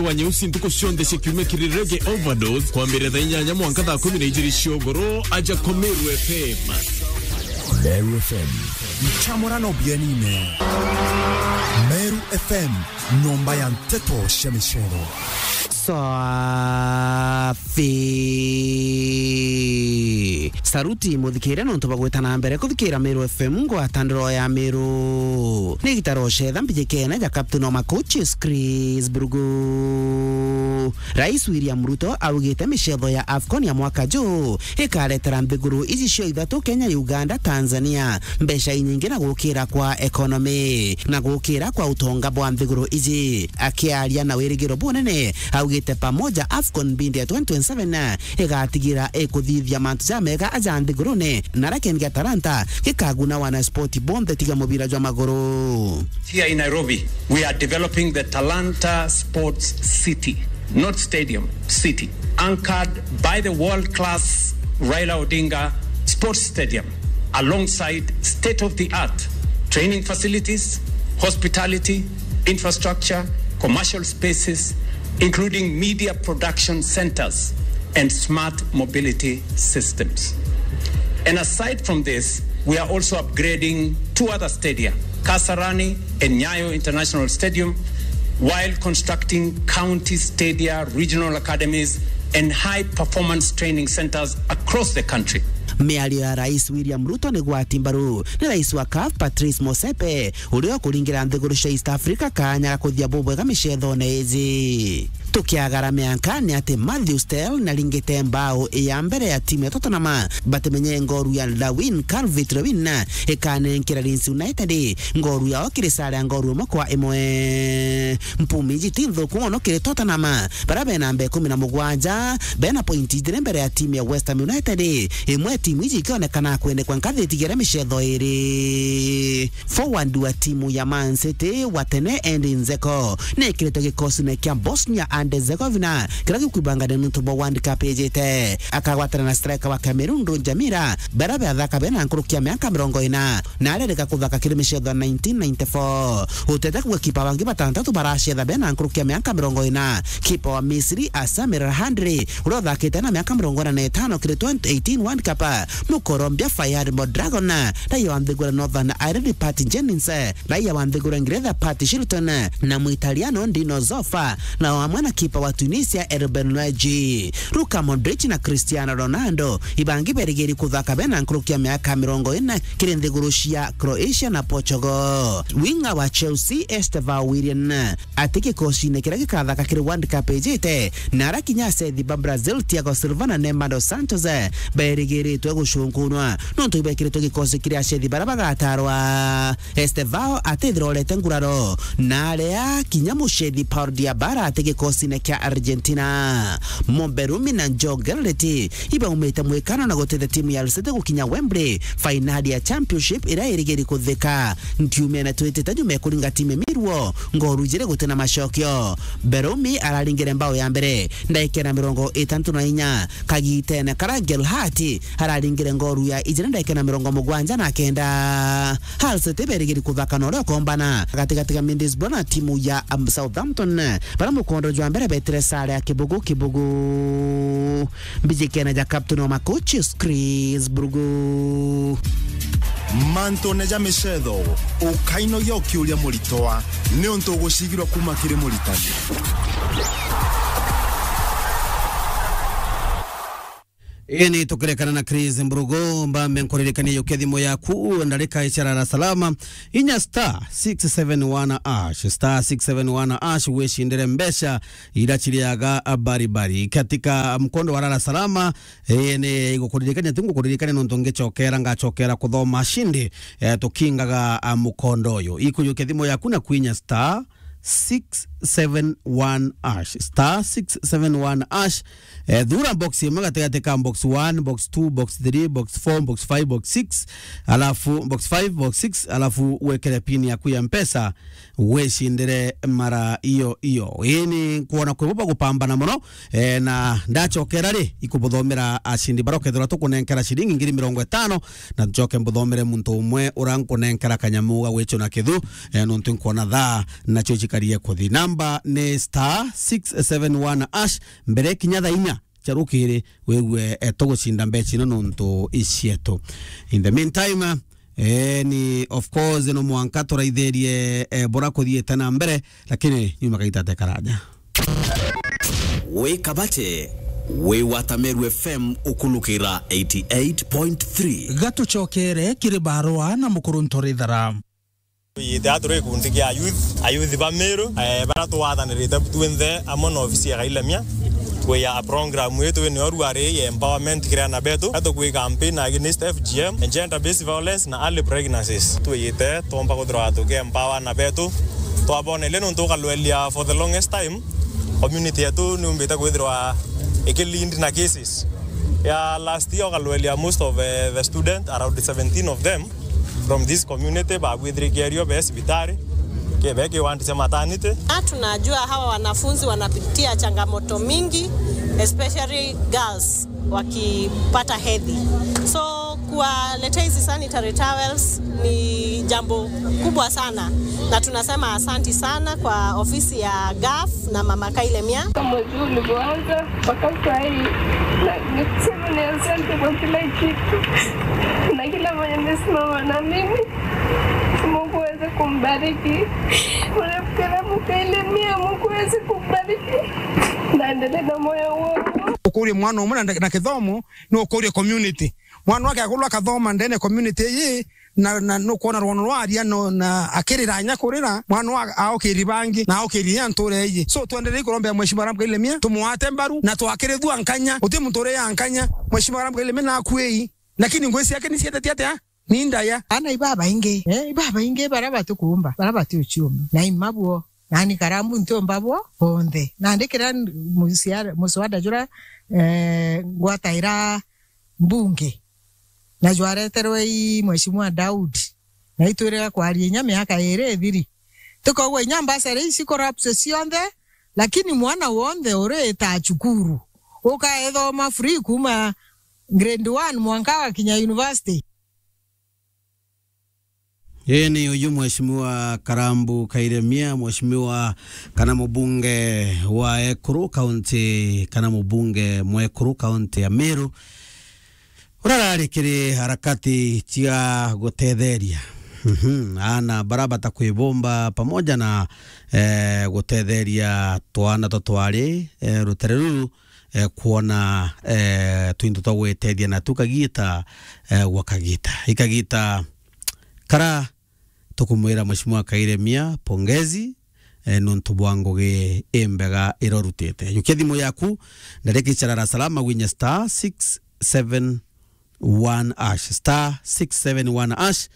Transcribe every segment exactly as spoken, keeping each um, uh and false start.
wa nyeusi ntuku cionthe cia kiumia kiri Reggae Overdose, kwambiriria thaa inyanya mwanka thaa kumi na ijiri cia ugoro, aja kwa Meru F M. Meru F M. Ncamurano bienine. Meru F M, nyomba ya nteto cia micero. Safi. Saruti muthikire nontu bwa gwita na mbere kuthikira Meru F M, ngwatandiro ya Meru. Ni gitaro cetha mbijikene ja Captain wa Macoaches, Chris Burugu. Rais William Ruto augite micetho ya AFCON ya mwaka juu ikaretera nthiguru iji cio ithatu, Kenya, Uganda, Tanzania, mbeca inyingi na gukira kwa economy na gukira kwa utonga bwa nthiguru iji. Akiaria na wirigiro bunene, augite pamoja AFCON mbindi ya twenty twenty-seven igatigira ikuthithia mantu jamega aja nthigurune, na aria kindi gia Talanta gikaguna wana sport bonthe tiga mubira jwa maguru. Here in Nairobi, we are developing the Talanta Sports City, not stadium, city, anchored by the world-class Raila Odinga Sports Stadium, alongside state-of-the-art training facilities, hospitality, infrastructure, commercial spaces, including media production centers and smart mobility systems. And aside from this, we are also upgrading two other stadia, Kasarani and Nyayo International Stadium, while constructing county stadia, regional academies, and high-performance training centers across the country. Miario ya Rais William Ruto ni gwati mbaru ni Rais wa CAF Patrice Motsepe, uria ukuringira nthiguru cia East Africa kanya ga kuthia bubwega micethone iji. Tukiagara mianka ni ati Matthew Stell naringite mbao ya mbere ya timu ya Tottenham, batimenye ngoru ya Darwin Calvert-Lewin ikanenkera Leeds United ngoru yao kiri sare ya ngoru imwe kwa imwe. Mpumi iji ti nthuku mono kiri Tottenham, baria bena namba ikumi na mugwanja, bena pointi ijiri mbere ya timu ya West Ham United, imwe ya timu iji ikionekana kwendekwa nkathi itigere micetho iri. Forward wa timu ya Man City wa tene Edin Dzeko nekiritwe gikosine kia Bosnia and Herzegovina kiria gikwibangania nuntu bwa World Cup ijite. Akagwatana na striker wa Cameroon Roger Milla, baria bathaka bena nkuruki ya miaka mirongo ina, na arerika kuthaka kiri micetho ya nineteen ninety-four. Utete kuga kipa bangi batantatu baracetha bena nkuruki ya miaka mirongo ina, kipa wa Misri Samir Hamdi, uria uthakite na miaka mirongo ina na itano kiri twenty eighteen World Cup, Mukolombia Fairad Mondragon, raia wa nthiguru ya Northern Ireland Pat Jennings, raia wa nthiguru ya Ngeretha Pat Shilton, na Muitaliano Dino Zoff, na amwe na kipa wa Tunisia Ruben Luigi. Luka Modric na Cristiano Ronaldo ibangi berigiri kuthaka bena nkuruki ya miaka mirongo ina kiri nthiguru cia Croatia na Portugal. Winga wa Chelsea Estevao Willian ati gikosine kiria gikathaka kiri World Cup ijite, na aria kinya acethi ba Brazil Thiago Silva na Neymar dos Santos berigiritwe gucunkunwa nontu ibekiritwe gikosi kiri acethi baria bagatarwa. Estevao atithirorete nguraro, na aria kinya mucethi Paul Diabala ati gikosine kia Argentina. Mumberumi na Joe Garrett ibaumite mwikano na gutethia timu ya Al City gukinya Wembley, fainali ya Championship iria irigiri kuthika. Ntiumene twitite nyuma ya kuringa timu ya Millwall ngoru ijiri gutina macokio. Mberumi araringire mbao ya mbere ndagika na mirongo itantu na inya, kagitene karia Gelhardt araringire ngoru ya ijiri ndagika na mirongo mugwanja na kenda. Hull City berigiri kuthaka na uria ukombana gatigati ga Middlesbrough na timu ya, um, Southampton, baria mukondo jwa mbere betire sare ya kibugu kibugu. Mbijikene ja captain wa Macoaches, Chris Burugu. Mantune ja micetho, ukainogia ukiuria muritwa, niuntu ugucigirwa kuma kiri muritani. Ini tukirekana na Chris Mburugu, mbambe nkuririkanie yukia thimu yaku, ndarika icia Lala Salama, inya star six seven one hash, star six seven one hash, wicindire mbeca iria ciriaga bari bari. Katika mkondo wa Lala Salama, ini igukuririkania, ti ngukuririkania nontu ngicokera, ngacokera kuthoma cindi, eh, tukingaga, ah, mukondo uyu. Ikuyukia thimu yaku na kwinya star six seven one hash, star six seven one hash. Eh, thura box imwe gatigati ka box one, box two, box three, box four, box five, box six, alafu box five, box six, alafu wekere pin yaku ya Mpesa, wicindire mara iyo iyo. Ini nkuona kwi bo bagupambana muno, eh, na ndacokera ri, ikubuthomera acindi baria ukethirwa tukunenkera ciringi ngiri mirongo itano, na ncoke mbuthomere muntu umwe uria nkunenkera kanyamu ga gwicuna kithu, eh, nontu nkuona thaa nacio cikarie kuthina. Namba ni star six seven one hash, mbere kinya thaa inya cia rukiri, wigue, eh, tugucinda mbeca ino nontu icietu. In the meantime, eh, ni of course no mwanka turaithirie, eh, bura kuthiite na mbere, lakini nyuma kaita te karaja. Wi Kabati, wi wa Tameru F M ukulukira eighty eight point three. Gatucokere kiri barua na Mukuru Ntorithara. Twiyite aa turi gikundi kia ayuthi, ayuthi ba Miru, eh, baria twathanirite twinthe amwe na ofisi ya Kailemia, kwiya program ii twinio ruari ya empowerment kiri aana betu, na tukwi campaign against F G M, gender based violence na early pregnancies. Twiyite twomba kwithirwa tuki empower aana betu, twaboneria nontu ukalwelia for the longest time, community yetu niumbite kwithirwa iki lead na cases. Ya last year ukalwelia most of, eh, the student, around seventeen of them, from this community, babwithirikirio be cibitari, kebe kiwandi cia maternity. Na tunajua hawa wanafunzi wanapitia changamoto mingi, especially girls wakipata hedhi. So, kuwaletea hizi sanitary towels ni jambo kubwa sana, na tunasema asanti sana kwa ofisi ya gaf na Mama Kailemia. Kama juu ulivyoanza, mpaka saa hii, na nikisema ni asante kwa kila kitu. Na kila mwenye amesimama na mimi, Mungu aweze kumbariki. Mwanamke na mkaile mia, Mungu aweze kumbariki. Na endelee na moyo huo huo. Ukurie mwana umwe na, na kithomo, ni ukurie community. Mwana wake akulwa akathoma ndene community ii, na, na nukwona rwono rwaria no, na akirira nya kurira, mwana wa aukiri bangi, na aukiri ya nture iji. So, twenderei kurombea Mheshimiwa Ram Kailemia, tumwate mbaru, na twakirithua nkanya, uti muntu uri ya nkanya. Mheshimiwa Ram Kailemia nakuei, lakini ngui ciake ni cietetie atia? Ni ndaya. Ana ibabaingi, eh, ibabaingi bara batukumba, bara batiuciuma. Na imabwo, nani karambu ntiumba bwo bonthe. Nandi kira musiara-, muswada jura, eh, ngwataira mbunge. Na jwareterwe i Mheshimiwa Daudi. Na itwire kwaria inya miaka iri ithiri. Tukaugwa inya mbasari ici corrupt cionthe, lakini mwana wonthe urita cukuru. Ukaethoma free kuma grade one mwanka wakinya university. Ii ni uyu Mheshimiwa Karambu Kairemia, Mheshimiwa kana mubunge wa Ekuru County, kana mubunge mwekuru County ya Meru, urarari kiri harakati cia gutetheria, mhm, aana bara batakwibumba pamoja na, eh, gutetheria twana twa twari, eh, rutere ruru, eh, kwona, eh, twinto twa gwitethia natu kagita, eh, gwa kagita. Ikagita kara tukumwira Mheshimiwa Kairemia pongezi, eh, nontu bwa ngugi imbega irorutite. Yukia thimu yaku, ndariki cha Dar es Salaam, gwinya star six seven one hash, star six seven one hash.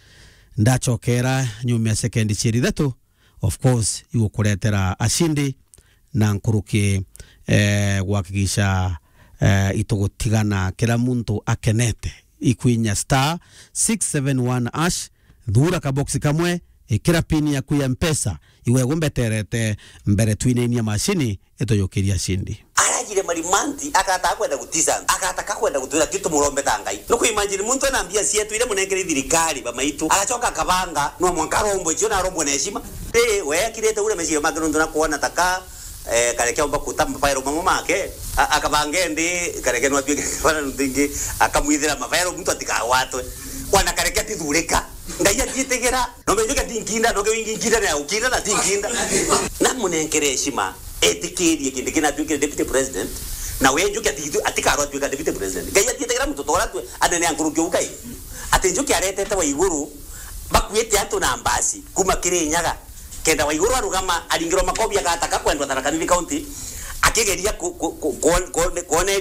Ndachokera nyuma ya sekendi cieri ithatu, of course, igukuretera ashindi na nkuruki, eh, gwakikisha, eh, itugutigana kira muntu akenete. Ikwinya star six seven one hash, thura kaboksi kamwe, ikira pin yaku ya Mpesa, igwe gumbeterete mbere twinainia mashini ituyukiria ashindi. Arajire marimanti, akata kwenda gutisa, akata ka kwenda gutwira, ti tumurombe ta Ngai. Nuku imagine muntu ena mbia cietu iria munenkere thirikari, bamaitu, agacoka akabanga, no mwanka arombwe cio na arombwe na heshima. Ri, we akirite ure meciria make nontu na kuona ta ka, eh, kareke omba kuta mafairo mamwe make, a-, akabanga endi, kareke no atwike bana nontu ingi, akamwithira mafairo muntu atikagwatwe. Wana kareke atithurika. Ngai atiitigira. No menjuke tinkinda, no ke wingi nkinda na ukinda na tinkinda. Na munenkere heshima, etikirie kindi kina atwikire deputy president, na we Njuki ati-, atikarwa atwika deputy president. Ngai atiitigira muntu tora atwe, anene a nkuruki ukai. Ati Njuki aretete wa iguru, bakuite antu na mbasi, kuma Kirinyaga. Kenda wa iguru arugama, aringirwa makobi agataka kwendwa Tharaka Nithi County, akigeria ku-, ku-, ku-, kuon-, kuone-, kuone